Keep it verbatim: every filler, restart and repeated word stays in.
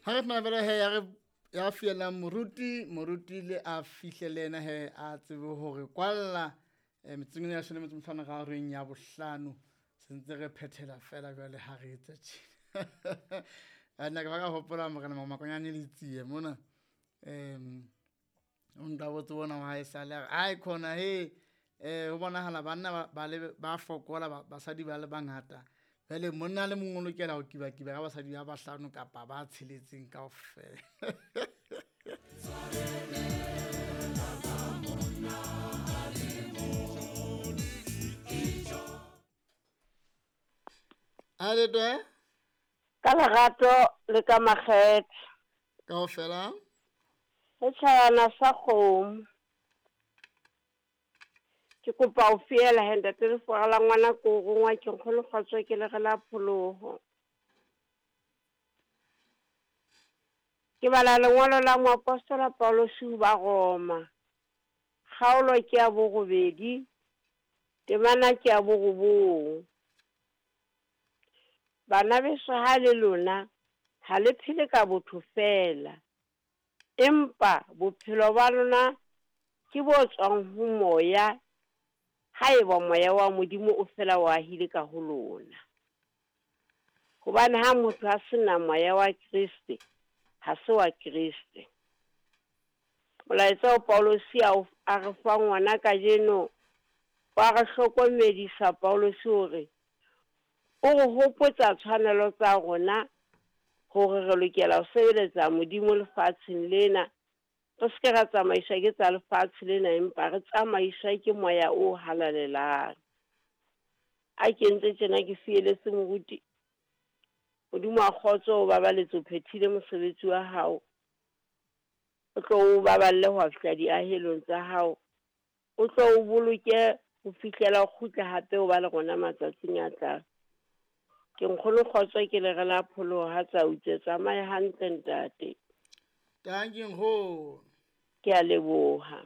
Ha re fumana fela he ya re ya fiela moruti, moruti le a fihle le yena he a tsebe hore kwalla eh, metsotsong ena ya leshome le metso e mehlano ka horeng ya bohlano. Se ntse re phethela fela jwale ha re etsa tjena. Nna ke ba ka hopola morena Makonyane le tsie mona. Um o nka botse bona wa hae sale a re, ai khona he eh ho bonahala banna ba, ba le ba fokola ba, basadi ba le bangata. Jwale monna le mong o lokela ho kiba-kiba ka basadi ba bahlano kapa ba tsheletseng kaofela. A le twe? Ka lerato le ka makgethe. Kaofela? Setjhabana sa kgomo. Ke kopa ho fiela he ntate lefora la ngwana ko rongwa ke nkgono kgotso ke le re la pholoho. Ke bala lengolo la moapostola Paulus ho ba Roma. Kgaolo ke ya borobedi, temana ke ya borobong. Bana beso ha le lona ha le phele ka botho feela, empa bophelo ba lona ke bo tswang ho moya, haeba moya wa Modimo o fela o ahile ka ho lona. Hobane ha motho a sena moya wa Kreste, ha se wa Kreste. Molaetsa o Paulus a o a re fang wona kajeno, wa re hlokomedisa Paulus hore o re hopotsa tshwanelo tsa rona hore re lokela ho sebeletsa Modimo lefatsheng lena. Re se ke ra tsamaiswa ke tsa lefatshe lena, empa re tsamaiswa ke moya o halalelang. A ke ntse tjena ke fieletse moruti. Modimo wa kgotso o babaletse, o phethile mosebetsi wa hao. O tlo o baballe ho fihla diahelong tsa hao. O tlo o boloke ho fihlela o kgutla hape o ba le rona matsatsing a tlang. Ke nkgono kgotso ke le re la pholoho ha tsa utse tsamaye hantle ntate. Thank you nkgono. Ke a leboha.